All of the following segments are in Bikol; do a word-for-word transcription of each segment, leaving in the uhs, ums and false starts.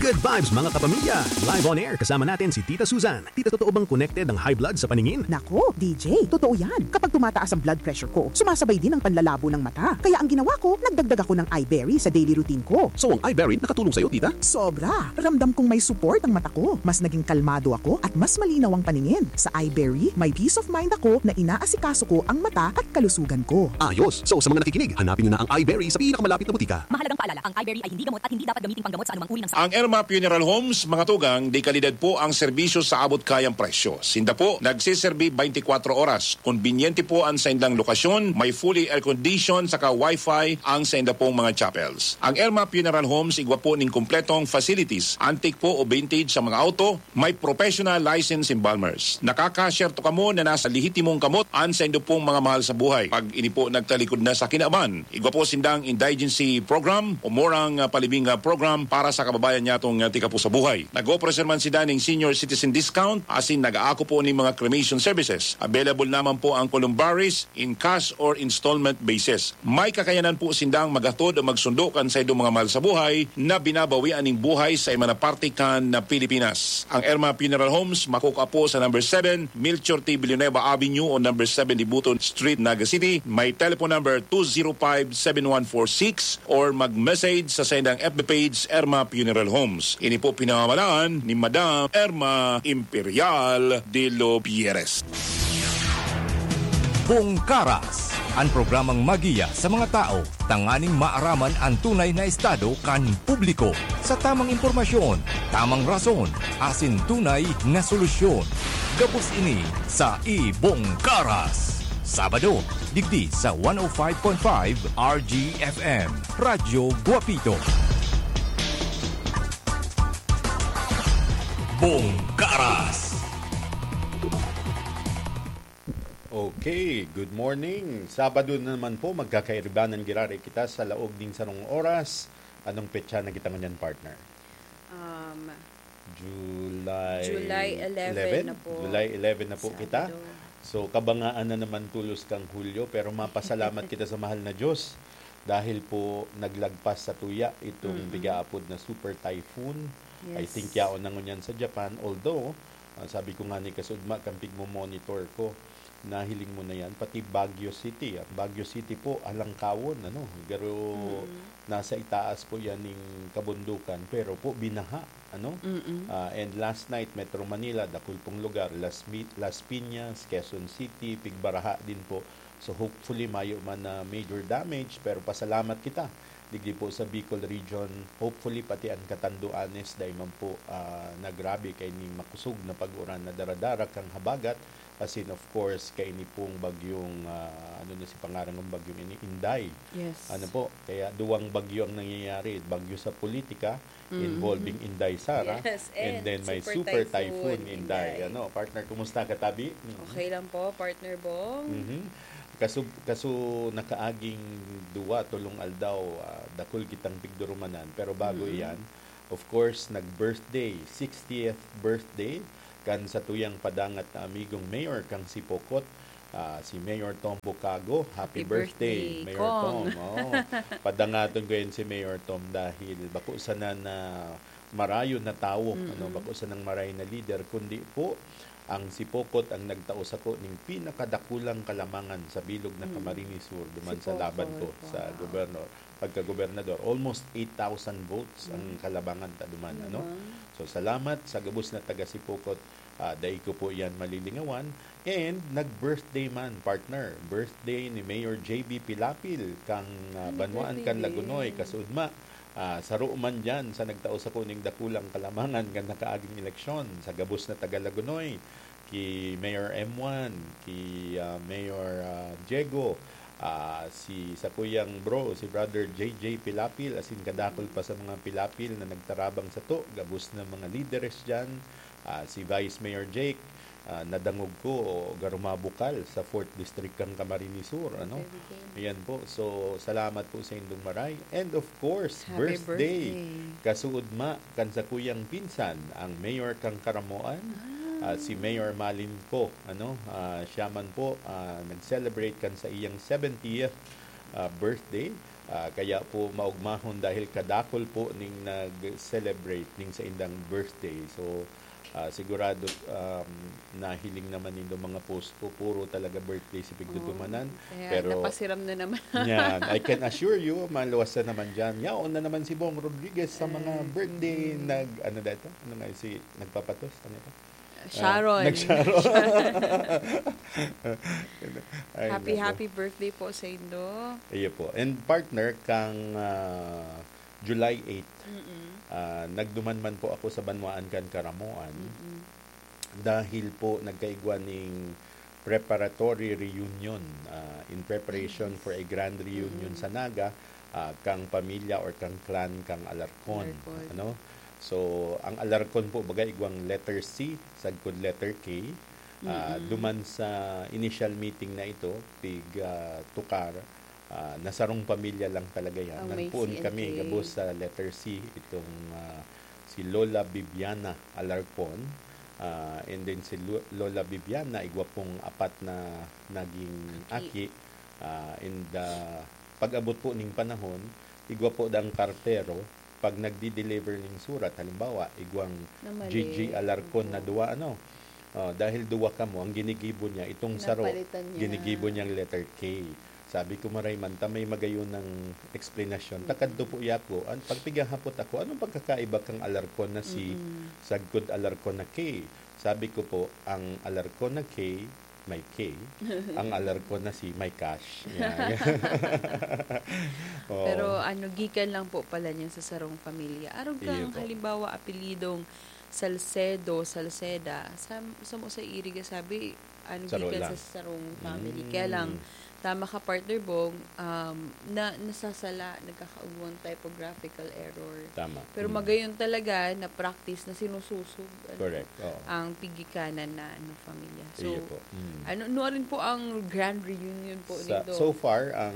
Good vibes, mga kapamilya! Live on air, kasama natin si Tita Susan. Tita, totoo bang connected ang high blood sa paningin? Nako, D J, totoo yan. Kapag tumataas ang blood pressure ko, sumasabay din ang panlalabo ng mata. Kaya ang ginawa ko, nagdagdag ako ng Iberry sa daily routine ko. So, ang Iberry nakatulong sa'yo, tita? Sobra! Ramdam kong may support ang mata ko. Mas naging kalmado ako at mas malinaw ang paningin. Sa Iberry, may peace of mind ako na inaasikaso ko ang mata at kalusugan ko. Ayos! So, sa mga nakikinig, hanapin nyo na ang Iberry sa pinakamalapit na butika. Mahalagang paalala, ang Iberry ay hindi gamot at hindi dapat gamiting panggamot sa anumang uri ng sakit. Ang Irma Funeral Homes, mga tugang, de kalidad po ang serbisyo sa abot kayang presyo. Sinda po, nagsiserbi twenty-four oras. Konbinyente po ang saindang lokasyon, may fully air-condition saka wifi ang sainda pong mga chapels. Ang Irma Funeral Homes, igwa po ning kompletong facilities, antique po o vintage sa mga auto, may professional license embalmers. Nakakasyerto kamo na nasa lehitimong kamot an saindo pong mga mahal sa buhay. Pag ini po nagtalikod na sa kinaban, igwa po sindang indigency program o murang, ah, palibing, ah, program para sa kababayan nyatong, ah, tika po sa buhay. Nag-opreser man sinda ning senior citizen discount, asin nag-aako po ning mga cremation services. Available naman po ang columbaries in cash or installment basis. May kakayanan po sindang maghatod o magsundo kan saindong mga mahal sa buhay na binabawian ning buhay sa iba na parte kan na Pilipinas. Ang Irma Funeral Homes makukua po sa number seven Melchor T. Villanueva Avenue o number seven Dibuto Street, Naga City. May telephone number two zero five seven one four six or mag-message sa saindang F B page, Irma Funeral Homes. Ini po pinamamalaan ni Madam Irma Imperial de los Pierres. Bongkaras, an programang magiya sa mga tawo tanganing maaraman an tunay na estado kan publiko. Sa tamang impormasyon, tamang rason, asin tunay na solusyon. Gabos ini sa Ibongkaras. Sabado, digdi sa one oh five point five R G F M, Radyo Guapito. Bongkaras. Okay, good morning. Sabado na naman po, magkakairibanan giraray kita sa laog ning sarong oras. Anong petsa na kita ngunyan, partner? Um, July July eleven eleven? Na po. July eleven na po kita. Sabado. So, kabangaan na naman tulos kang Hulyo, pero mapasalamat kita sa mahal na Diyos dahil po naglagpas sa tuya itong Mm-mm. pigaapod na super typhoon. I Yes. think yaon na ngunyan sa Japan, although, ah, sabi ko nga ni kasudma kan pigmo-monitor ko, nahiling mo na yan, pati Baguio City. Ang Baguio City po, alangkawon, ano, garo Mm. nasa itaas po yan ning kabundukan, pero po binaha, ano? Mm. Ah, and last night, Metro Manila, dakul pong lugar, Las Mi-, Las Piñas, Quezon City, pigbaraha din po. So, hopefully, mayo man na major damage, pero pasalamat kita. Digdi po sa Bicol Region, hopefully, pati an Catanduanes, dai man po, ah, nagrabe kay ning makusog na pag-uran na daradara kan habagat. Asin, of course, kaini pong bagyong, ah, ano na si pangaran ng bagyong ini? Inday. Yes. Ano po? Kaya duwang bagyo ang nangyayari. Bagyo sa politika, Mm-hmm. involving Inday Sara, Yes, and and then may super super typhoon, typhoon, Inday. Inday. Ano, partner, kumusta ka, tabi? Mm. Okay lang po, partner Bong. Mhm. Kaso, kaso nakaaging duwa, tolong aldaw, ah, dakul kitang pigdurumanan. Pero bago Mm-hmm. iyan, of course, nag-birthday, sixtieth birthday, kan satuyang padangat na amigong mayor kang Sipocot, ah, si Mayor Tom Bucago. Happy Happy birthday, birthday, Mayor Kong. Tom. Oo. Padangaton ko yan si Mayor Tom dahil bako sana na marayo na tawo, Mm-mm. ano, bako sanang marayo na lider, kundi po ang Sipocot ang nagtao sako ning pinakadakulang kalamangan sa bilog na Mm. Camarines Sur, duman sa Sipocot, laban ko sa wow. gobernador, pagkagobernador. Almost eight thousand votes ang Mm. kalabangan ta duman, ano? Naman. So, salamat sa gabos na taga Sipocot. Ah, dai ko po yan malilingawan. And nag-birthday man, partner. Birthday ni Mayor J B Pilapil, kang, ah, Happy Banwaan birthday kan Lagonoy, din. Kasudma. Ah, saro man dyan sa nagtao sako ning dakulang kalamangan kan nakaaging eleksyon. Sa gabos na taga Lagonoy, ki Mayor M one, ki, ah, Mayor, ah, Diego, ah, si sakuyang bro, si Brother J J Pilapil, asin kadakul pa sa mga Pilapil na nagtarabang sato, gabos na mga lideres dyan, ah, si Vice Mayor Jake, ah, nadangog ko, garo mabukal sa fourth District kang Camarines Sur, ano? Very good. Ayan po. So, salamat po sa indong maray. And of course, Happy birthday. birthday. Kasuodma kan sakuyang pinsan, ang mayor kang Caramoan, Ah. ah, si Mayor Malin ko, ano? Ah, siya man po, ah, nag-celebrate kan sa iyang seventieth, ah, birthday. Ah, kaya po maugmahon dahil kadakol po ning nag-celebrate ning saindang birthday. So, ah, sigurado, um, nahiling naman nindo mga post ko, puro talaga birthday si pigdudumanan. Oo. Kaya Pero napasiram na naman. Yan, I can assure you, maluwas na naman dyan. Yaon na naman si Bong Rodriguez sa mga Eh, birthday mm. nag, ano dito? Ano nga si, nagpapatos? Ano ito? Ah, Sharon. nag-Sharon. Ay, Happy, nako. happy birthday po sa indo. Iyo po. And partner, kang, ah, July eight, Mm-mm. ah, nagduman man po ako sa banwaan kan Karamoan Mm-mm. dahil po nagkaigwa ning preparatory reunion, ah, in preparation Yes. for a grand reunion Mm-mm. sa Naga, ah, kang pamilya or kang clan kang Alarcon, Alarcon. ano? So, ang Alarcon po, baga, igwang letter C, sagkod letter K. Ah, Mm-mm. duman sa initial meeting na ito, pig, ah, tukar, ah, na sarong pamilya lang talaga yan. Ang may Nagpoon C and kami K. gabos sa letter C, itong, ah, si Lola Bibiana Alarcon. Ah, and then si Lo-, Lola Bibiana, igwa pong apat na naging Aki. aki. Ah, and, ah, pag-abot po ning panahon, igwa po dang kartero, pag nagdi-deliver ning surat, halimbawa, igwang Na mali. G G Alarcon na Opo. duwa, ano? Oh, dahil duwa kamo, ang ginigibo niya, itong saro, Napalitan niya. ginigibo niyang letter K. Sabi ko, "Maray man ta, may magayon ng eksplanasyon." Mm. Takad to po yako, an-, pag pigahapot ako, "Anong pagkakaiba kang Alarcon na C, Mm-mm. sagkod Alarcon na K?" Sabi ko po, "Ang Alarcon na K, may K. Ang Alarcon na C, may cash." Yan. Oo. Pero ano, gikan lang po pala niya sa sarong pamilya. Arog Iyo kang po. halimbawa, apelidong Salcedo, Salceda, sa, sa mo sa Iriga, sabi, ano, Saro gikan lang. sa sarong family. Kaya lang, Mm. tama ka, partner Bong, um, na, nasasala, nagkakaugwang typographical error. Tama. Pero Mm. magayon talaga na practice na sinususog, ano, Correct. Oo. ang pigikanan na, ano, pamilya. So, Iyo po. Mm. ano, nuarin po ang grand reunion po Sa, nito? so far, ang,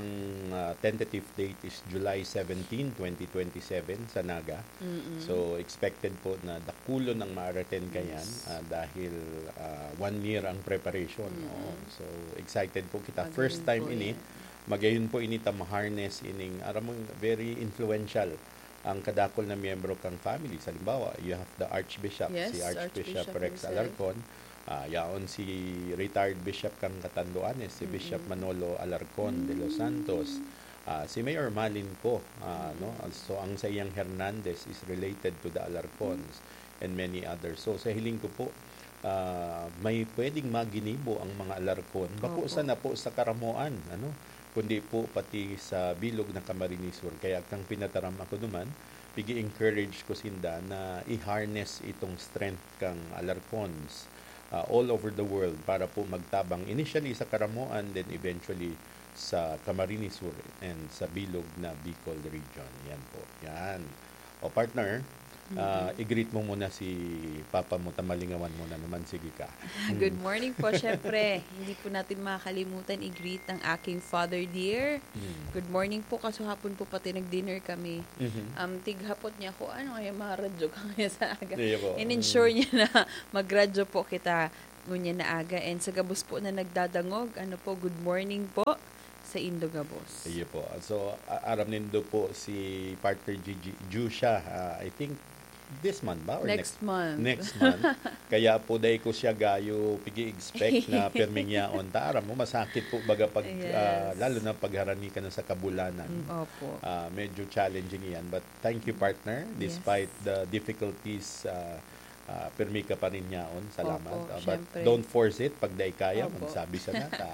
ah, tentative date is July seventeen, twenty twenty-seven sa Naga. Mm-mm. So, expected po na dakulon ang ma-attend kayan, Yes. ah, dahil, ah, one year ang preparation, Mm-mm. no? So, excited po kita. Magayon First time po ini, yan. magayon po ini ta ma-harness ining, aram mo, very influential ang kadakol na miyembro kang family. Sa halimbawa, you have the Archbishop, Yes, si Archbishop Archbishop Rex himself. Alarcon, ah, yaon si retired Bishop kang Catanduanes, si Bishop Mm-mm. Manolo Alarcon de los Mm. Santos, ah, si Mayor Malin po, ah, no? Mm. So, ang saiyang Hernandez is related to the Alarcons and many others. So, sa hiling ko po, ah, may pwedeng maginibo ang mga Alarcon. Bako Opo. sana po sa Karamoan, ano? Kundi po pati sa bilog na Camarines Sur. Kaya kang pinataram ako duman, pigi-encourage ko sinda na i-harness itong strength kang Alarcons, ah, all over the world para po magtabang initially sa Karamoan, then eventually sa Camarines Sur and sa bilog na Bicol region. Yan po. Yan. O partner, ah, Mm-mm. i-greet mo muna si papa mo, tamalingawan mo na naman. Sige ka. Good Mm. morning po, syempre. Hindi po natin makakalimutan i-greet ang aking father dear. Mm. Good morning po, kaso hapon po pati nag-dinner kami. Mhm. Um, tighapot niya ako, "Ano kaya mga radyo ka ngayon sa aga?" Iyo po. In-ensure Mm. niya na magradyo po kita ngunyan na aga. And sa gabos po na nagdadangog, ano po, good morning po sa indo gabos. Iyo po. So, a-, aram nindo po si Partner Gigi, due siya, ah, I think, this month ba? Or Next next? month. Next month. Kaya po, dai ko siya gayo pigi-expect na pirming yaon. Ta, aram mo, masakit po baga pag, Yes. ah, lalo na pag harani ka na sa kabulanan. Mm, opo. Ah, medyo challenging iyan. But thank you, partner. Yes. Despite the difficulties, ah, ah, pirmi ka pa rin yaon. Salamat. Opo, Ah, but syempre. don't force it. Pag dai kaya, Opo. magsabi sana. Ta,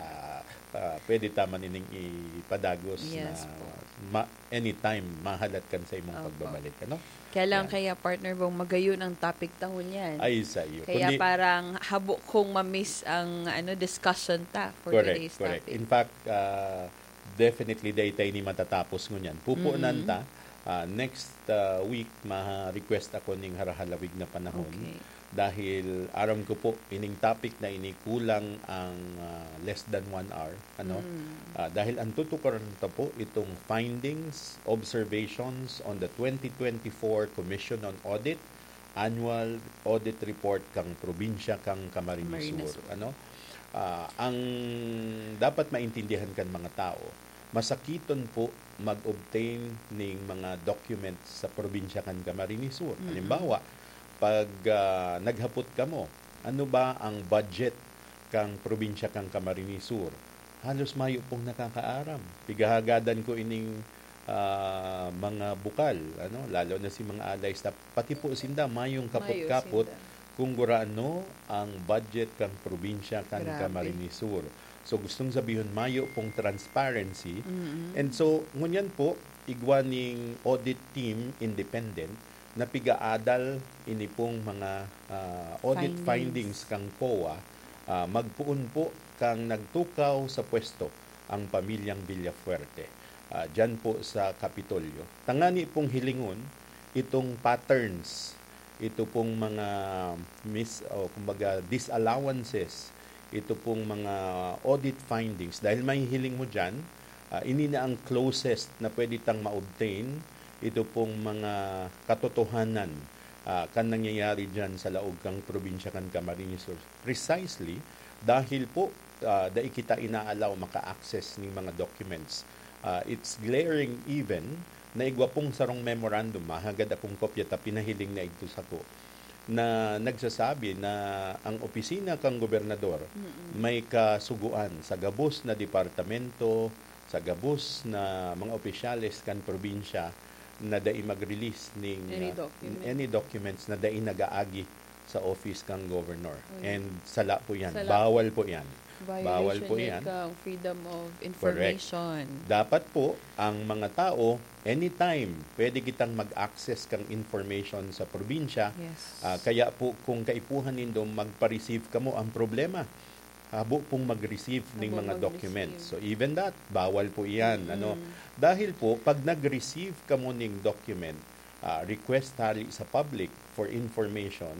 ah, pwede ta man ining ipadagos Yes na po. ma-, anytime, mahalat kan sa imong Opo. pagbabalik, ano? Kaya lang Yan. kaya, partner Bong, magayon ang topic ta ngunyan. Ay, sa iyo. Kaya Kundi parang habo kong ma-miss ang, ano, discussion ta for Correct, today's correct. topic. In fact, ah, definitely, dai ta ini matatapos ngunyan. Pupunan Mm. ta, ah, next, ah, week, ma-request ako ning harahalawig na panahon. Okay. Dahil aram ko po, ining topic na ini kulang ang, ah, less than one hour, ano? Mm. Ah, dahil ang tutukaran ta po itong findings, observations on the twenty twenty-four Commission on Audit Annual Audit Report kang probinsya kang Camarines Camarines Sur, Sur. ano? Ah, ang dapat maintindihan kan mga tao, masakiton po mag-obtain ning mga documents sa probinsya kan Camarines Sur. Mm-mm. Halimbawa, pag, ah, naghapot kamo, "Ano ba ang budget kang probinsya kan Camarines Sur?" Halos mayo pong nakakaaram. Pigahagadan ko ining, ah, mga bukal, ano, lalo na si mga alay staff, pati po sinda mayong Mayo kapot-kapot sinda. kung gurano ang budget kan probinsya kan Grabe. Camarines Sur. So, gustong sabihon, mayo pong transparency. Mm-mm. And so, ngunyan po, igwa ning audit team, independent, na pigaadal ini pong mga, ah, audit Findings. findings kan COA, ah, magpoon po kan nagtukaw sa pwesto ang pamilyang Villafuerte, ah, dyan po sa Kapitolyo. Tangani pong hilingon itong patterns, ito pong mga mis-, o kumbaga disallowances, ito pong mga audit findings. Dahil mahihiling mo dyan, ah, ini na ang closest na pwede tang ma-obtain, ito pong mga katotohanan, ah, kan nangyayari dyan sa laog kang probinsya kan Camarines Sur. Precisely dahil po, ah, dai kita inaalaw maka-access ning mga documents. Ah, it's glaring even na igwa pong sarong memorandum, mahagad akong kopya ta pinahiling na idto sako, na nagsasabi na ang opisina kang gobernador Mm-mm. may kasugoan sa gabos na departamento, sa gabos na mga opisyales kan probinsya na dai mag-release ning, Any ah, document. any documents na dai nagaagi sa office kang governor. Oh, yeah. And sala po yan. Sala. Bawal po yan. Violation Bawal po yan yan. kang freedom of Correct. information. Dapat po, ang mga tao, anytime, pwede kitang mag-access kang information sa probinsya. Yes. Ah, kaya po, kung kaipuhan nindo, magpa-receive kamo. Ang problema, habo pong mag-receive ning Habo mga mag-receive. documents. So, even that, bawal po iyan, Mm-mm. ano. Dahil po, pag nag-receive kamo ning document, ah, request hali sa public for information,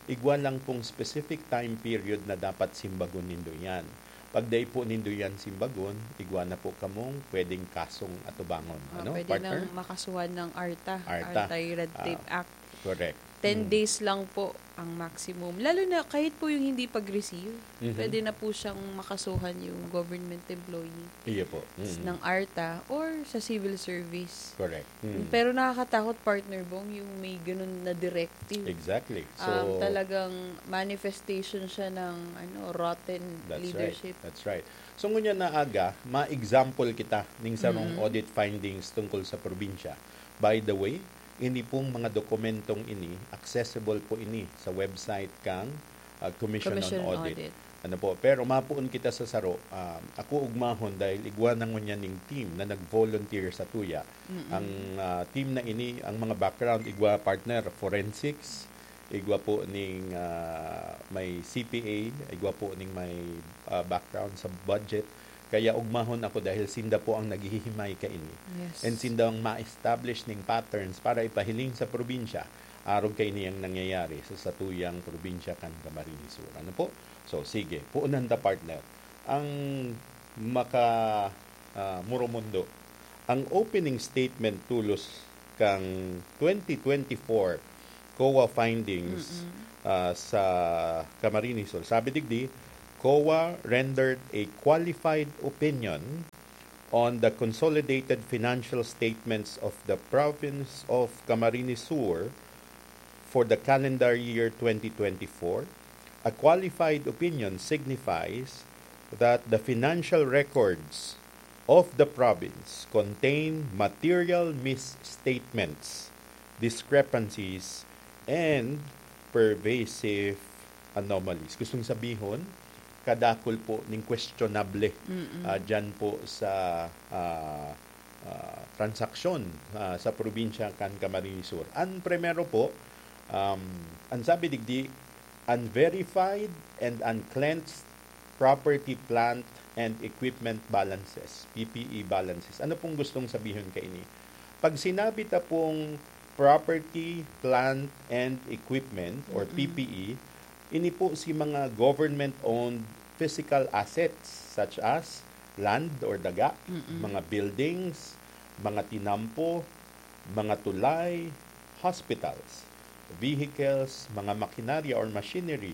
igwa lang pong specific time period na dapat simbagon nindo yan. Pag dai po nindo yan simbagon, igwa na po kamong pwedeng kasong atubangon. Ah, Ano, pwede partner? nang makasuhan ng ARTA, ARTA. Anti-Red Tape Ah, Act. correct. Ten Mm. days lang po ang maximum. Lalo na kahit po yung hindi pag-receive, Mhm. pwede na po siyang makasuhan yung government employee Iyo po. Mm. ng ARTA or sa civil service. Correct. Mm. Pero nakakatakot, Partner Bong, yung may ganun na directive. Exactly. Um, So, talagang manifestation siya ng, ano, rotten That's right. leadership. That's right. So, ngunyan na aga, ma-example kita ning sarong Mm. audit findings tungkol sa probinsya. By the way, ini pong mga dokumentong ini, accessible po ini sa website kang, ah, Commission on Commission on Audit. Audit. Ano po, pero mapoon kita sa saro, ah, ako ugmahon dahil igwa na ngunyan ning team na nag-volunteer sa tuya. Mm-mm. Ang, ah, team na ini, ang mga background, igwa partner, forensics, igwa po ning, ah, may C P A, igwa po ning may, ah, background sa budget. Kaya ugmahon ako dahil sinda po ang naghihimay kaini. Yes. And sinda ang ma-establish ning patterns para ipahiling sa probinsya, arog kaini ang nangyayari sa satuyang probinsya kan Camarines Sur. Ano po? So, sige, puunan ta, partner. Ang maka, ah, Muromundo, ang opening statement tolos kang twenty twenty-four COA findings, Mm-mm. ah, sa Camarines Sur. Sabi digdi, "COA rendered a qualified opinion on the consolidated financial statements of the province of Camarines Sur for the calendar year twenty twenty-four. A qualified opinion signifies that the financial records of the province contain material misstatements, discrepancies, and pervasive anomalies." Gustong sabihon, kadakol po ning questionable, Mm-mm. ah, dyan po sa, ah, ah, transaksyon, ah, sa probinsya kan Camarines Sur. Ang primero po, um, ang sabi digdi, unverified and uncleansed property, plant, and equipment balances, P P E balances. Ano pong gustong sabihon kaini? Pag sinabi ta pong property, plant, and equipment or Mm-mm. P P E, ini po si mga government-owned physical assets such as land or daga, Mm-mm. mga buildings, mga tinampo, mga tulay, hospitals, vehicles, mga makinarya or machinery,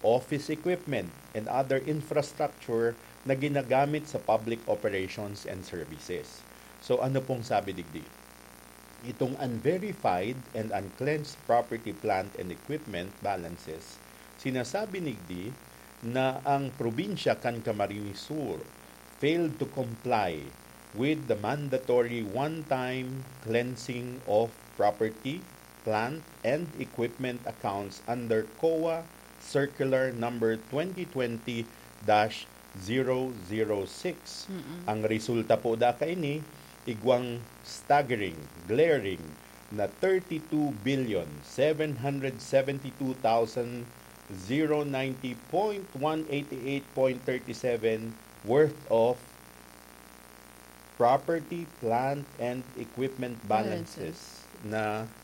office equipment, and other infrastructure na ginagamit sa public operations and services. So, ano pong sabi digdi? Itong unverified and uncleansed property, plant, and equipment balances, sinasabi nigdi na ang probinsya kan Camarines Sur failed to comply with the mandatory one-time cleansing of property, plant, and equipment accounts under COA Circular Number twenty twenty dash zero zero six. Mm-mm. Ang resulta po da kaini, igwang staggering, glaring na thirty-two billion seven hundred seventy-two thousand zero ninety point one eighty-eight point thirty-seven worth of property, plant, and equipment balances Balances. na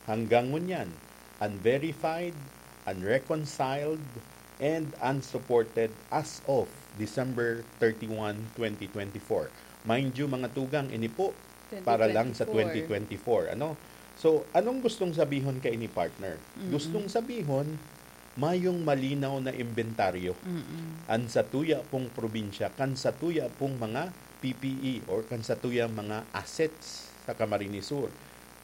hanggang ngunyan, unverified, unreconciled, and unsupported as of December thirty-one, twenty twenty-four. Mind you, mga tugang, ini po para lang sa Twenty twenty-four. twenty twenty-four, ano? So, anong gustong sabihon kaini, partner? Mm-mm. Gustong sabihon, mayong malinaw na imbentaryo Mm-mm. an satuya pong probinsya, kan satuya pong mga P P E or kan satuyang mga assets sa Camarines Sur.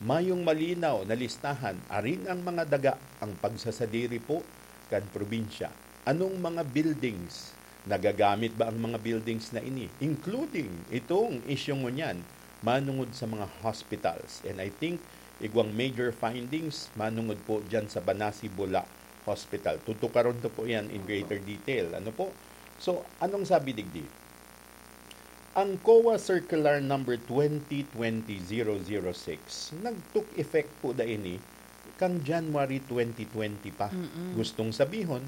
Mayong malinaw na listahan, arin ang mga daga, ang pagsasadiri po kan probinsya. Anong mga buildings? Nagagamit ba ang mga buildings na ini? Including itong isyung ngunyan, manungod sa mga hospitals. And I think igwang major findings manungod po dyan sa Banasi Bula Hospital. Tutukaron to po yan in greater detail. Ano po? So, anong sabi digdi? Ang COA Circular Number twenty twenty zero zero six nag-took effect po da ini kan January twenty twenty pa. Mm-mm. Gustong sabihon,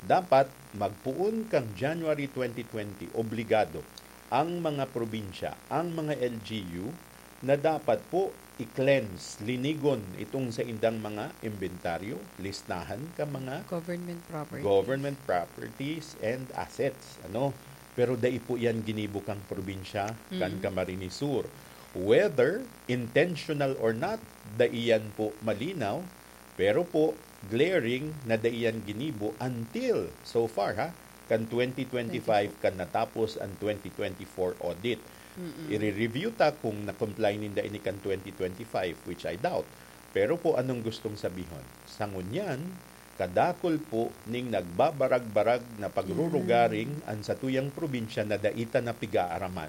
dapat magpoon kan January twenty twenty, obligado ang mga probinsya, ang mga L G U, na dapat po i-cleanse, linigon itong saindang mga inventaryo, listahan kan mga Government properties. government properties and assets, ano. Pero dai po yan ginibo kang probinsya kan Mm. Camarines Sur. Whether intentional or not, dai yan po malinaw. Pero po, glaring na dai yan ginibo until so far, ha, kan twenty twenty-five, kan natapos ang twenty twenty-four audit. Mm-mm. I-re-review ta kung na-comply ninda ini kan twenty twenty-five, which I doubt. Pero po, anong gustong sabihon? Sa ngunyan, kadakul po ning nagbabarag-barag na pagrurugaring Yan. an satuyang probinsya na dai ta na pigaaraman.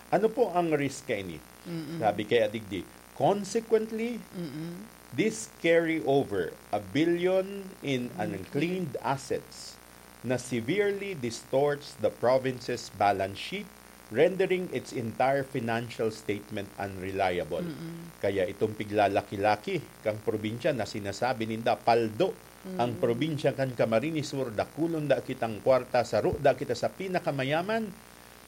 Ano po ang risk kaini? Mm-mm. Sabi kaya digdi, consequently, Mm-mm. this carry over a billion in Uncleared. uncleaned assets na severely distorts the province's balance sheet, rendering its entire financial statement unreliable. Mm-mm. Kaya itong piglalaki-laki kang probinsya na sinasabi ninda, paldo ang Mm. probinsya kan Camarines Sur, dakulon da kitang kwarta, saro da kita sa pinakamayaman,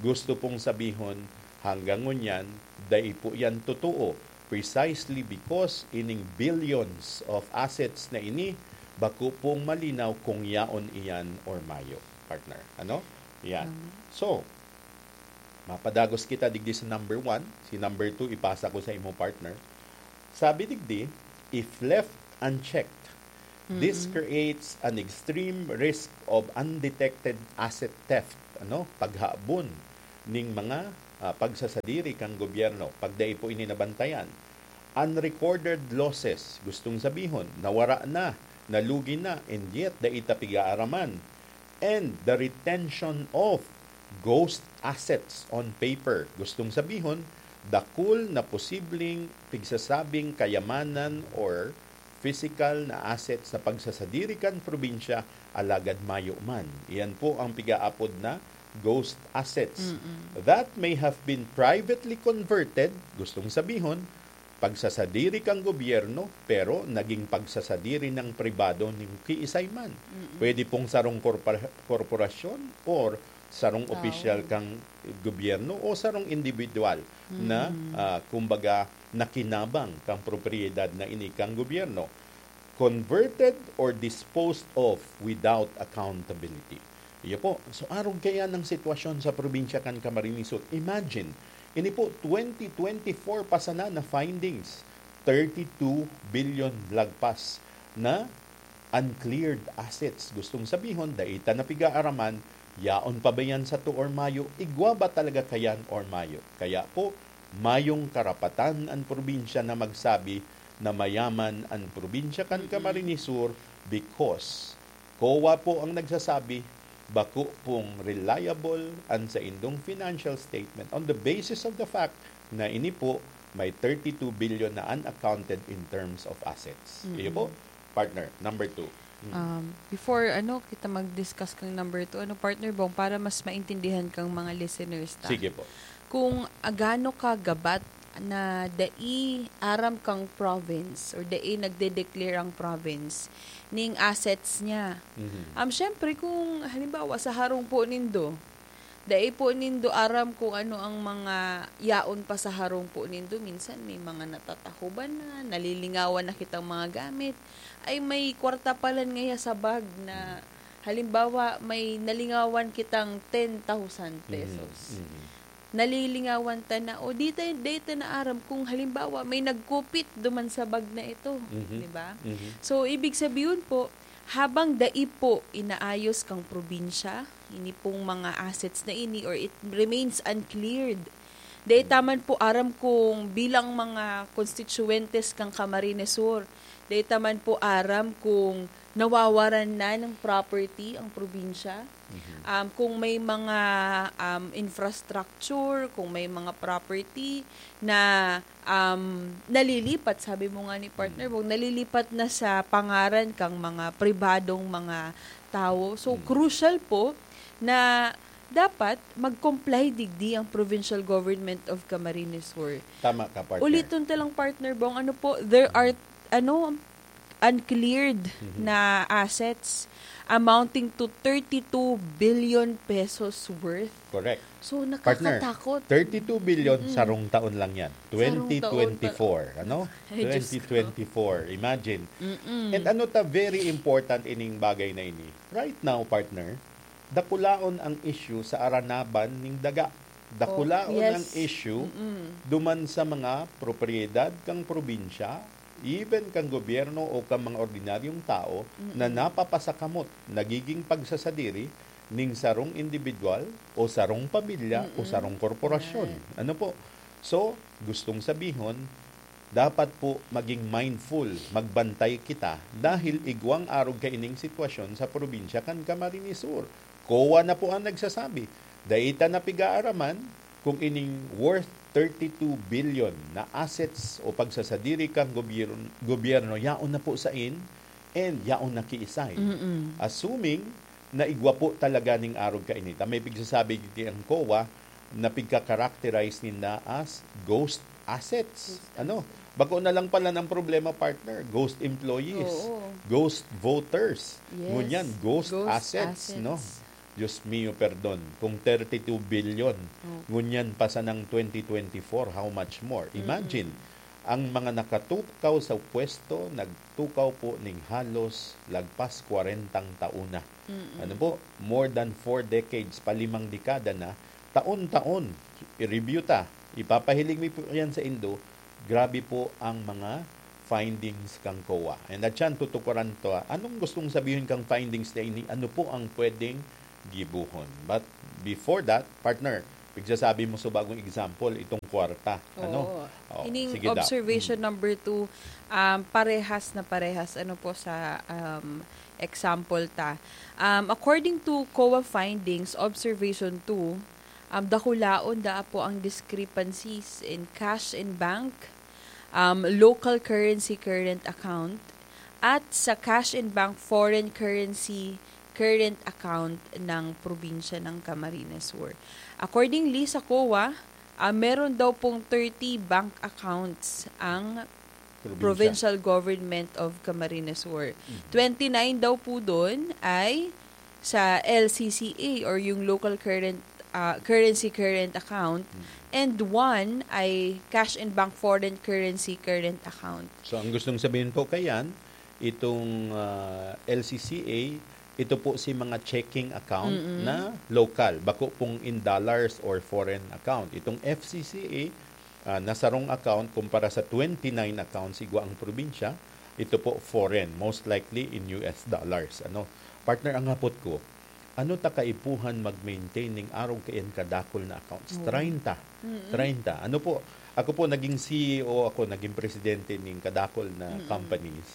gusto pong sabihon, hanggang ngunyan, dai po yan totoo, precisely because ining billions of assets na ini, bako pong malinaw kung yaon iyan or mayo, partner. Ano? Yan. Tama. So, mapadagos kita digdi sa number one. Si number two, ipasa ko sa imo, partner. Sabi digdi, if left unchecked, this Mm-mm. creates an extreme risk of undetected asset theft, ano, paghabon ning mga, ah, pagsasadiri kan gobyerno pag dai po ini nabantayan. Unrecorded losses, gustong sabihon, nawara na, nalugi na, and yet dai ta pigaaraman. And the retention of ghost assets on paper, gustong sabihon, dakul na posibleng pigsasabing kayamanan or physical na assets na pagsasadiri kan probinsya, alagad mayo man. Iyan po ang pigaapod na ghost assets. Mm-mm. That may have been privately converted, gustong sabihon, pagsasadiri kan gobyerno, pero naging pagsasadiri ng pribado ning kiisay man. Mm-mm. Pwede pong sarong korpora-, korporasyon or sarong Tao. opisyal kang gobyerno o sarong individual na, Mm. ah, kumbaga, nakinabang kang propiedad na ini kang gobyerno. Converted or disposed of without accountability. Iyo po. So, arog kaya ng sitwasyon sa probinsya kan Camarines Sur. Imagine, ini po, twenty twenty-four pa sana na findings, thirty-two billion lagpas na uncleared assets. Gustong sabihon, dai ta na pigaaraman, Yaon pa ba yan sa to or mayo? Igwa ba talaga kayan or mayo? Kaya po, mayong karapatan an probinsya na magsabi na mayaman an probinsya kan Camarines Sur because COA po ang nagsasabi, bako pong reliable an saindong financial statement on the basis of the fact na ini po may thirty-two billion na unaccounted in terms of assets. Iyo po, partner, number two. Mm. Um, before ano kita mag-discuss kang number two, ano, partner Bong, para mas maintindihan kang mga listeners ta. Sige po. Kung agano ka gabat na dai aram kang province or dai nagde-declare ang province ning assets niya. Mhm. Um, syempre, kung halimbawa sa harong po nindo, dai po nindo aram kung ano ang mga yaon pa sa harong po nindo. Minsan may mga natatahuban na, nalilingawan na kitang mga gamit. Ay, may kwarta palan ngaya sa bag na, halimbawa, may nalingawan kitang ten thousand pesos. Mhm. Mhm. Nalilingawan ta na, o di tayo, di ta na aram kung halimbawa may nagkupit duman sa bag na ito, Mhm. di ba? Mhm. So, ibig sabihin po, habang dai po inaayos kang probinsya, ini pong mga assets na ini, or it remains uncleared, dai ta man po aram kung bilang mga konstituyentes kang Camarines Sur, dai ta man po aram kung nawawaran na ng property ang probinsya. Mhm. Um, kung may mga, um, infrastructure, kung may mga property na, um, nalilipat, sabi mo nga ni partner Bong, nalilipat na sa pangaran kang mga pribadong mga tawo. So, Mm. crucial po na dapat mag-comply digdi ang Provincial Government of Camarines Sur. Tama ka, partner. Uliton ta lang, partner Bong, ano po, there are, ano, uncleared Mhm. na assets amounting to thirty-two billion pesos worth. Correct. So, Partner, nakakatakot. thirty-two billion, Mm-mm. sarong taon lang yan. Sarong taon pa- twenty twenty-four, ano? Ay, Diyos ko. twenty twenty-four, imagine. Mm-mm. And ano ta, very important ining bagay na ini. Right now, partner, dakulaon ang issue sa aranaban ning daga. Dakulaon Oh, yes. ang issue Mm-mm. duman sa mga propiedad kang probinsya, even kang gobyerno o kang mga ordinaryong tao na Mm-mm. napapasakamot, nagiging pagsasadiri ning sarong individual o sarong pamilya o Mm-mm. sarong korporasyon. Yan. Ano po? So, gustong sabihon, dapat po maging mindful, magbantay kita dahil igwang arog kaining sitwasyon sa probinsya kan Camarines Sur. COA na po ang nagsasabi. Dai ta na pigaaraman kung ining worth thirty-two billion na assets o pagsasadiri kan gobyerno, gobyerno yaon na po sain and yaon na kiisay. Mm-mm. Assuming na igwa po talaga ning arog kainita, may pigsasabi digdi ang COA na pigka-characterize ninda as ghost assets. Ghost Ano? assets. Bako na lang pala ng problema, partner. Ghost employees. Oo. Ghost voters. Yes. Ngunyan, ghost, Ghost assets, no? assets. Diyos mio, perdon. Kung thirty-two billion, Oh. ngunyan pa sanang twenty twenty-four, how much more? Mm-mm. Imagine, ang mga nakatukaw sa pwesto, nagtukaw po ning halos lagpas kwarentang taon na. Mm-mm. Ano po? More than four decades, palimang dekada na, taon-taon, i-review ta. Ipapahiling mi po yan sa indo, grabe po ang mga findings kang COA. And at yan, tutukuran to, ah. Anong gustong sabihin kang findings na ini? Ano po ang pwedeng gibohon? But before that, partner, pigsasabi mo sa bagong example, itong kwarta. Ano? Oo. Oh, Ining sige, Doc. observation Mm. number two, um, parehas na parehas, ano po, sa, um, example ta. Um, according to COA findings, observation two, um, dakulaon daa po ang discrepancies in cash in bank, um, local currency current account, at sa cash in bank foreign currency current account ng probinsya ng Camarines Sur. Accordingly, sa COA, ah, meron daw pong thirty bank accounts ang Probinsya. Provincial Government of Camarines Sur. Mhm. Twenty-nine daw po doon ay sa L C C A or yung local current, ah, currency current account, Mhm. and one ay cash in bank foreign currency current account. So, ang gustong sabihin po kayan, itong, ah, L C C A, ito po si mga checking account Mm-mm. na local, bako pong in dollars or foreign account. Itong F C C A, ah, na sarong account kumpara sa twenty-nine accounts igwa ang probinsya, ito po foreign, most likely in U S dollars. Ano? Partner, ang hapot ko, ano ta kaipuhan mag-maintain ning arog kaiyan kadakul na accounts? Oo. Treinta. Mm-mm. Treinta. Ano po, ako po, naging C E O ako, naging presidente ning kadakul na Mm-mm. companies.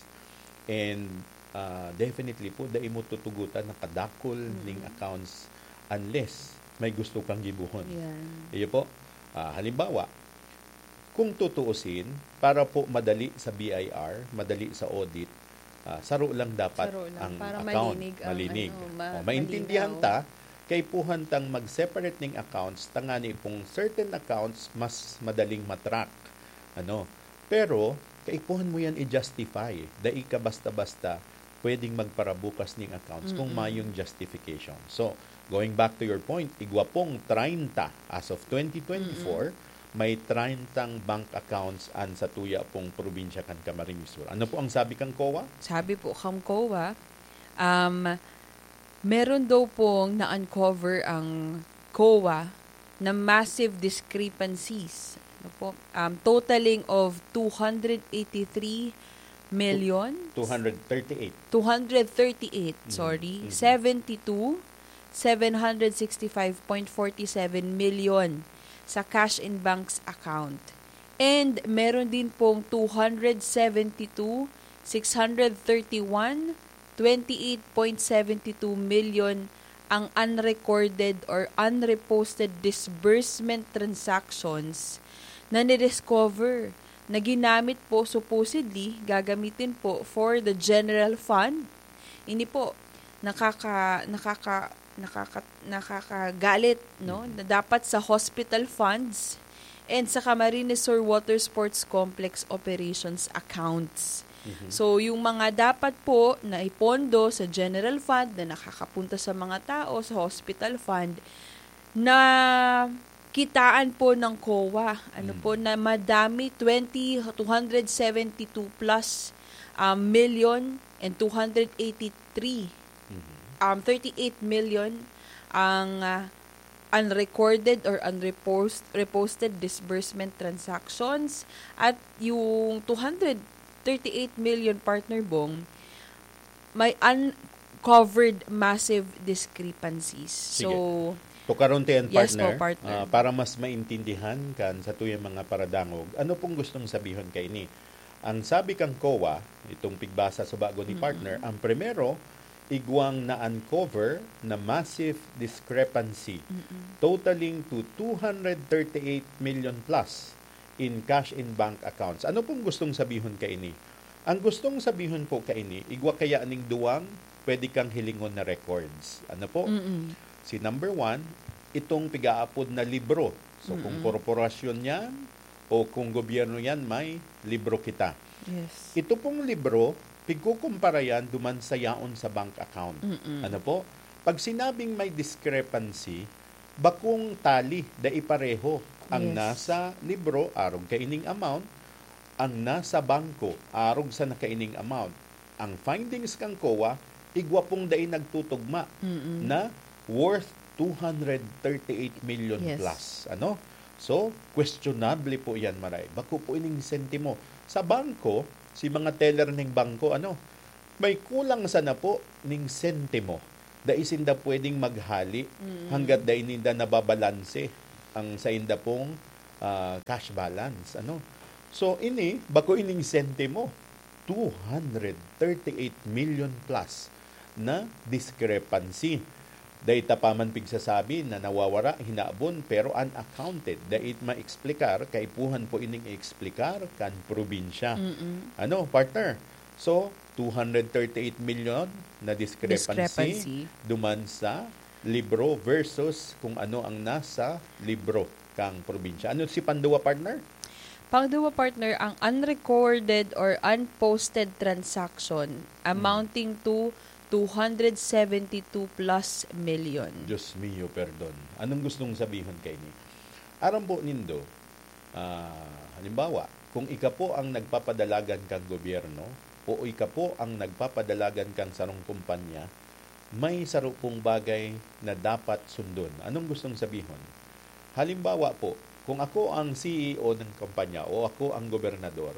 And, ah, definitely po, dai mo tutugutan na kadakul Mm-mm. ning accounts unless may gusto kang gibohon. Yan. Iyo po. Ah, halimbawa, kung tutuusin, para po madali sa B I R, madali sa audit, ah, saro lang dapat Saro lang, ang para account, malinig ang malinig. ano, ma-, O, maintindihan malinaw. ta, kaipuhan tang mag-separate ning accounts, tangani pong certain accounts mas madaling matrack. Ano? Pero, kaipuhan mo yan i-justify. Dai ka basta-basta pwedeng magparabukas ning accounts kung Mm-mm. mayong justification. So, going back to your point, igwa pong treinta as of twenty twenty-four, Mm-mm. may treintang bank accounts an satuya pong probinsya kan Camarines Sur. Ano po ang sabi kang COA? Sabi po kang COA, um, meron daw pong na-uncover ang COA na massive discrepancies. Ano po? Um, totaling of two hundred eighty-three million? Two hundred thirty-eight. Two hundred thirty-eight, Mhm. sorry. Mhm. Seventy-two, seven hundred sixty-five point forty-seven million sa cash in banks account. And meron din pong two hundred seventy-two, six hundred thirty-one, twenty-eight point seventy-two million ang unrecorded or unreposted disbursement transactions na nidiscover na ginamit po supposedly, gagamitin po for the general fund. Ini po, nakaka-, nakaka-, nakaka-, nakakagalit, no? Mm. Na dapat sa hospital funds and sa Camarines Sur Water Sports Complex operations accounts. Mhm. So, yung mga dapat po na ipondo sa general fund na nakakapunta sa mga tao, sa hospital fund, na kitaan po ng COA, ano Mm. po, na madami, twenty, two hundred seventy-two plus, um, million and two hundred eighty-three, Mhm. um, thirty-eight million ang, ah, unrecorded or unrepost-, reposted disbursement transactions, at yung two hundred thirty-eight million, Partner Bong, may uncovered massive discrepancies. Sige. So, Tukaron ta yan, yes po, partner, partner. Ah, para mas maintindihan kan satuyang mga paradangog, ano pong gustong sabihon kaini? Ang sabi kang COA, itong pigbasa sa bago ni Mm-mm. partner, ang primero, igwang na-uncover na massive discrepancy, Mm-mm. totaling to two hundred thirty-eight million plus in cash in bank accounts. Ano pong gustong sabihon kaini? Ang gustong sabihon po kaini, igwa kaya ning duwang pwede kang hilingon na records. Ano po? Mm-mm. Si number one, itong pigaapod na libro. So, kung Mm-mm. korporasyon yan o kung gobyerno yan, may libro kita. Yes. Ito pong libro, pigkukumpara yan duman sa yaon sa bank account. Mm-mm. Ano po? Pag sinabing may discrepancy, bakong tali, dai pareho ang Yes. nasa libro, arog kaining amount, ang nasa bangko, arog sa nakaining amount. Ang findings kan COA, igwa pong dai nagtutugma Mm-mm. na worth two hundred thirty-eight million Yes. plus. Ano? So, questionable po yan, maray. Bako po ining sentimo. Sa bangko, si mga teller ning bangko, ano, may kulang sana po ning sentimo. Dai sinda pwedeng maghali Mm. hanggat dai ninda nababalanse ang sainda pong, ah, cash balance. Ano? So, ini, bako ining sentimo, two hundred thirty-eight million plus na discrepancy. Dai ta pa man pigsasabi na nawawara, hinabon, pero unaccounted. Dai maeksplikar, kaipuhan po ining i-eksplikar kan probinsya. Mm-mm. Ano, partner? So, two hundred thirty-eight million na discrepancy Discrepancy. duman sa libro versus kung ano ang nasa libro kang probinsya. Ano si panduwa, partner? Pangduwa, partner, ang unrecorded or unposted transaction Hmm. amounting to two hundred seventy-two plus million. Diyos mio, perdon. Anong gustong sabihon kaini? Aram po nindo, ah, halimbawa, kung ika po ang nagpapadalagan kang gobyerno o ika po ang nagpapadalagan kang sarong kumpanya, may saro pong bagay na dapat sundon. Anong gustong sabihon? Halimbawa po, kung ako ang C E O ng kumpanya o ako ang gobernador,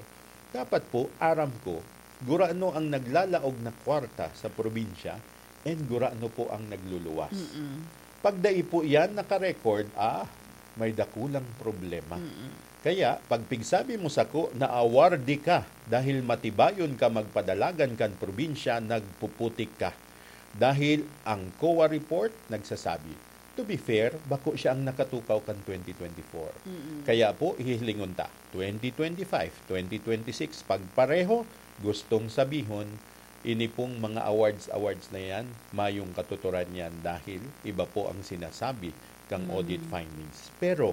dapat po aram ko gurano ang naglalaog na kwarta sa probinsya, And gurano po ang nagluluwas. Mm-mm. Pag dai po yan nakarecord, ah, may dakulang problema. Mm-mm. Kaya, pag pigsabi mo sako na awardee ka dahil matibayon ka magpadalagan kan probinsya, nagpuputik ka. Dahil ang COA report nagsasabi. To be fair, bako siya ang nakatukaw kan twenty twenty-four. Mm-mm. Kaya po, hihilingon ta, twenty twenty-five, twenty twenty-six, pagpareho, gustong sabihon, ini pong mga awards, awards na yan, mayong katuturan yan dahil iba po ang sinasabi kang audit Mm. findings. Pero,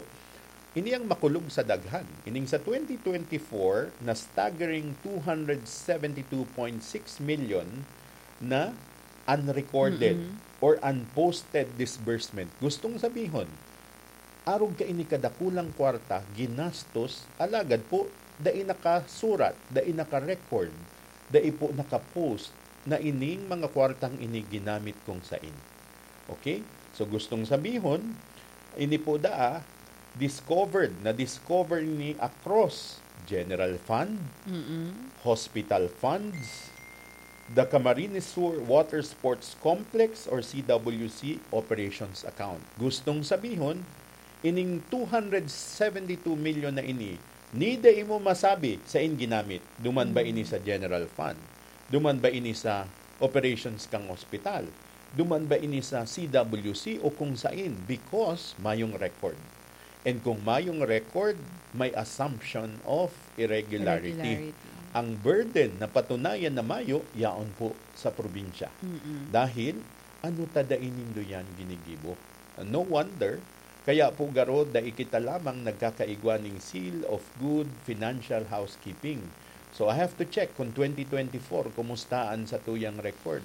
ini ang makulog sa daghan. Ining sa twenty twenty-four na staggering two hundred seventy two point six million na unrecorded Mm-mm. or unposted disbursement. Gustong sabihon, arog kaini kadakulang kwarta, ginastos, alagad po, dai nakasurat, dai naka-record, dai po naka-post na ining mga kwartang ini ginamit kung sain. Okay? So, gustong sabihon, ini po daa, discovered, na-discover ni across general fund, Mm-mm. hospital funds, the Camarines Sur Water Sports Complex or C W C operations account. Gustong sabihon, ining two hundred seventy two million na ini, ni dai mo masabi sain ginamit. Duman ba Mm. ini sa general fund? Duman ba ini sa operations kang ospital? Duman ba ini sa C W C o kung sain? Because mayong record. And kung mayong record, may assumption of irregularity. Irregularity. Ang burden na patunayan na mayo, yaon po sa probinsya. Mm-mm. Dahil, ano ta dai nindo yan ginigibo? No wonder, kaya po garo, dai kita lamang nagkakaigwa ning seal of good financial housekeeping. So, I have to check kung twenty twenty-four, kumusta an satuyang record.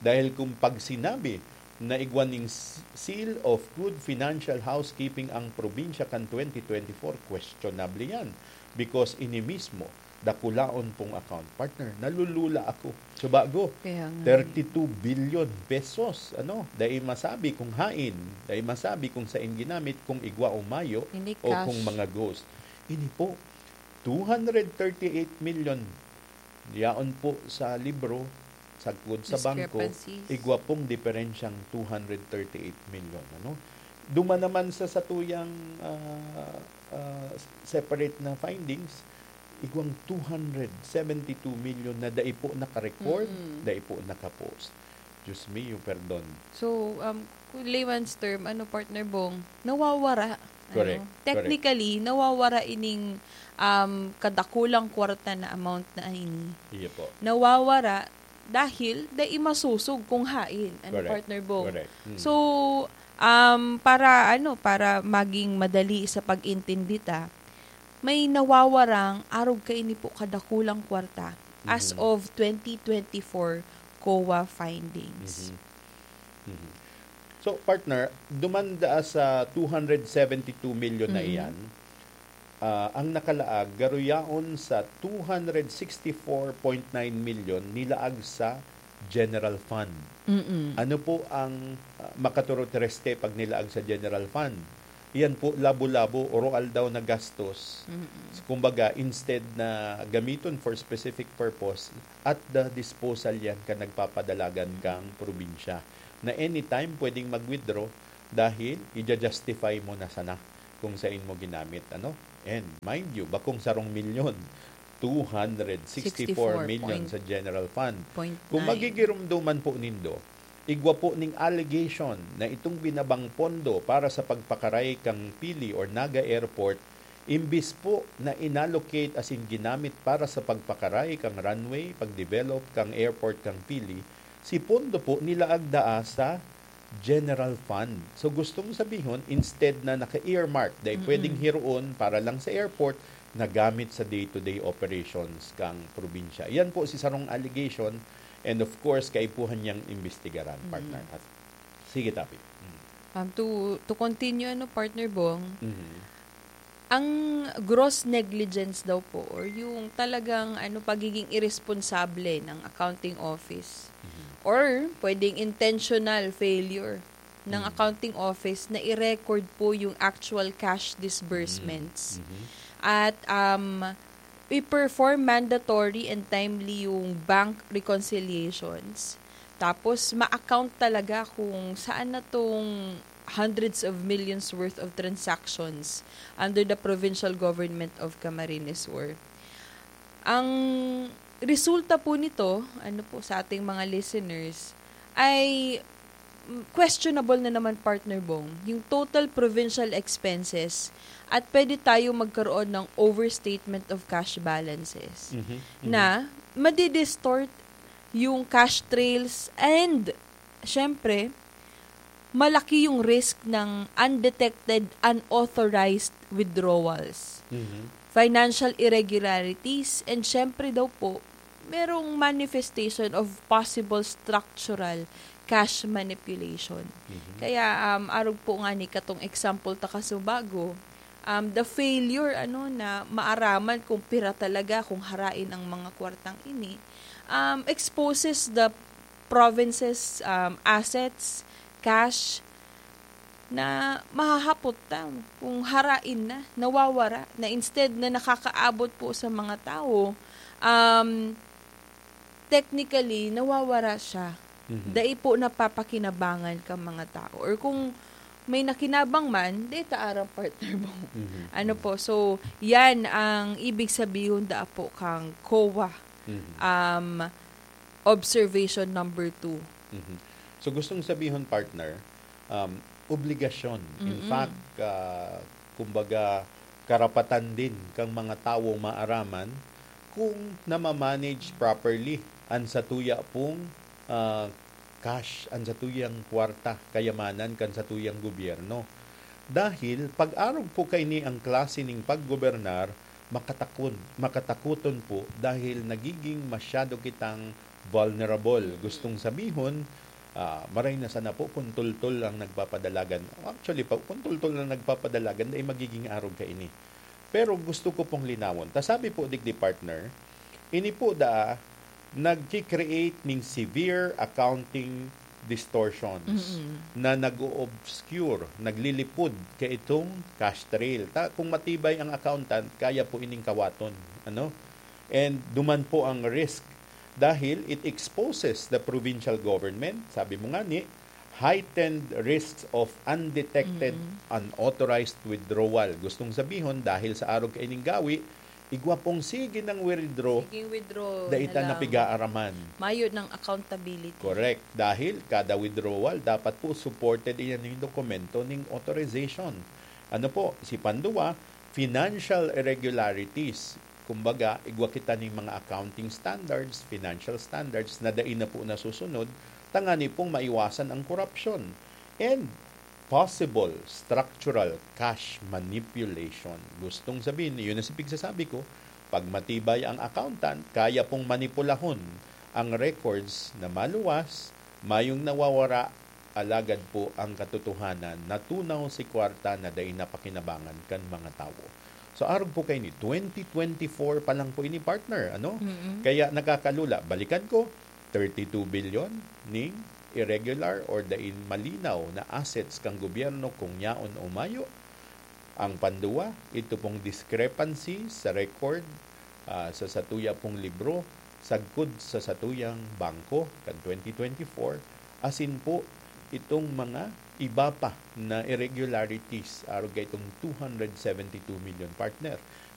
Dahil kung pag sinabi na igwa ning s-, seal of good financial housekeeping ang probinsya kan twenty twenty-four, questionable yan. Because ini mismo, dakulaon pong account. Partner, nalulula ako. Subago, Kaya nga eh. thirty-two billion pesos. Ano? Dai masabi kung hain, dai masabi kung sain ginamit, kung igwa o mayo, Ini o kung cash. mga ghost. Ini po, two hundred thirty-eight million. Yaon po sa libro, sagkod sa bangko, Discrepancies. igwa pong diferensyang two hundred thirty-eight million. Ano? Duman naman sa satuyang, ah, ah, separate na findings, igwang two hundred seventy-two million na dai po naka-record, Mm-mm. dai po naka-post. Diyos mio, perdon. So, um, kung layman's term, ano, Partner Bong, nawawara. Correct, Ano? correct. Technically, nawawara ining, um, kadakulang kwarta na amount na ini. Iya po. Nawawara dahil dai masosog kung hain. Ano, Correct, Partner Bong? correct. Mm. So, um, para, ano, para maging madali sa pag-intindi ta, may nawawarang arog kaini po kadakulang kwarta as Mhm. of twenty twenty-four COA findings. Mhm. Mhm. So, partner, duman daa sa two hundred seventy-two million na Mhm. iyan, ah, ang nakalaag garo yaon sa two hundred sixty-four point nine million nilaag sa general fund. Mm-mm. Ano po ang, ah, makaturo treste pag nilaag sa general fund? Iyan po, labo-labo, oro-aldaw na gastos. Mm-mm. So, kumbaga, instead na gamiton for specific purpose, at the disposal yan kan nagpapadalagan kang probinsya, na anytime pwedeng mag-withdraw dahil i-justify mo na sana kung sain mo ginamit, ano? And mind you, bakong sarong milyon, two hundred sixty-four million sa general fund. Kung magigiromdoman po nindo, igwa po ning allegation na itong binabang pondo para sa pagpakaray kang Pili or Naga Airport, imbis po na inallocate asin ginamit para sa pagpakaray kang runway, pag-develop kang airport kang Pili, si pondo po nilaag daa sa general fund. So, gustong sabihon, instead na naka-earmark, dai Mm-mm. pwedeng hiroon para lang sa airport, nagamit sa day-to-day operations kang probinsya. Yan po si sarong allegation, and of course, kaipuhan niyang imbestigaran, Mm-mm. partner. At, sige, Tapi. Mm. Um, to, to continue, ano, Partner Bong, Mhm. ang gross negligence daw po, or yung talagang, ano, pagiging iresponsable ng accounting office, Mhm. or pwedeng intentional failure ng Mhm. accounting office na i-record po yung actual cash disbursements. Mhm. Mhm. At, um, i-perform mandatory and timely yung bank reconciliations. Tapos ma-account talaga kung saan na 'tong hundreds of millions worth of transactions under the provincial government of Camarines Sur. Ang resulta po nito, ano po, sa ating mga listeners, ay, mm, questionable na naman, Partner Bong, yung total provincial expenses at pwede tayo magkaroon ng overstatement of cash balances Mhm, mhm. na madi-distort yung cash trails and, syempre, malaki yung risk ng undetected, unauthorized withdrawals, Mhm. financial irregularities, and syempre daw po, merong manifestation of possible structural cash manipulation. Mhm. Kaya, um, arog po nga ni katong example ta kasubago, um, the failure, ano, na maaraman kung pira talaga, kung harain ang mga kwartang ini, um, exposes the province's, um, assets, cash, na mahahapot ta kung harain na, nawawara na, instead na nakakaabot po sa mga tao, um, technically, nawawara siya. Mhm. Dai po napapakinabangan kang mga tao. Or kung may nakinabang man, dai ta aram, Partner Bong. Mhm. Ano Mhm. po? So, yan ang ibig sabihon daa po kang COA, Mhm. um, observation number two. Mhm. So, gustong sabihon, partner, um, obligasyon. In Mm-mm. fact, ah, kumbaga, karapatan din kang mga tawo maaraman kung namamanage properly an satuya pong, ah, cash, an satuyang kwarta, kayamanan kan satuyang gobyerno. Dahil pag-arog po kaini ang klase ning paggobernar, makatakon-, makatakoton po dahil nagiging masyado kitang vulnerable. Gustong sabihon, ah, maray na sana po kung tultol ang nagpapadalagan. Actually, pa, kung tultol ang nagpapadalagan, dai magiging arog kaini. Pero gusto ko pong linawon. Ta sabi po, digdi, partner, ini po daa nagki-create ning severe accounting distortions Mm-mm. na nag-o-obscure, naglilipod kaitong cash trail. Ta, kung matibay ang accountant, kaya po ining kawaton, ano? And duman po ang risk dahil it exposes the provincial government, sabi mo nga ni, heightened risks of undetected, Mm-mm. unauthorized withdrawal. Gustong sabihon, dahil sa arog kaining gawi, igwa pong sige nang withdraw, Sige, withdraw dai na ta lang. napigaaraman. Mayo ng accountability. Correct. Dahil kada withdrawal, dapat po supported iyan ng dokumento ning authorization. Ano po, si panduwa, financial irregularities. Kumbaga, igwa kita ning mga accounting standards, financial standards na dai na po nasusunod, tangani pong maiwasan ang korupsyon. And possible structural cash manipulation. Gustong sabihin, yun ang pigsasabi ko, pag matibay ang accountant, kaya pong manipulahon ang records na maluwas, mayong nawawara, alagad po ang katotohanan, natunaw si kwarta na dai napakinabangan kan mga tawo. So, arog po kaini, twenty twenty-four pa lang po ini, partner, ano? Mm-mm. Kaya nakakalula, balikan ko, thirty-two billion ning irregular or dai malinaw na assets kan gobyerno kung yaon o mayo. Ang panduwa, ito pong discrepancy sa record, ah, sa satuya pong libro, sagkod sa satuyang bangko kan twenty twenty-four, asin po itong mga iba pa na irregularities, arog kaitong two hundred seventy-two million, partner.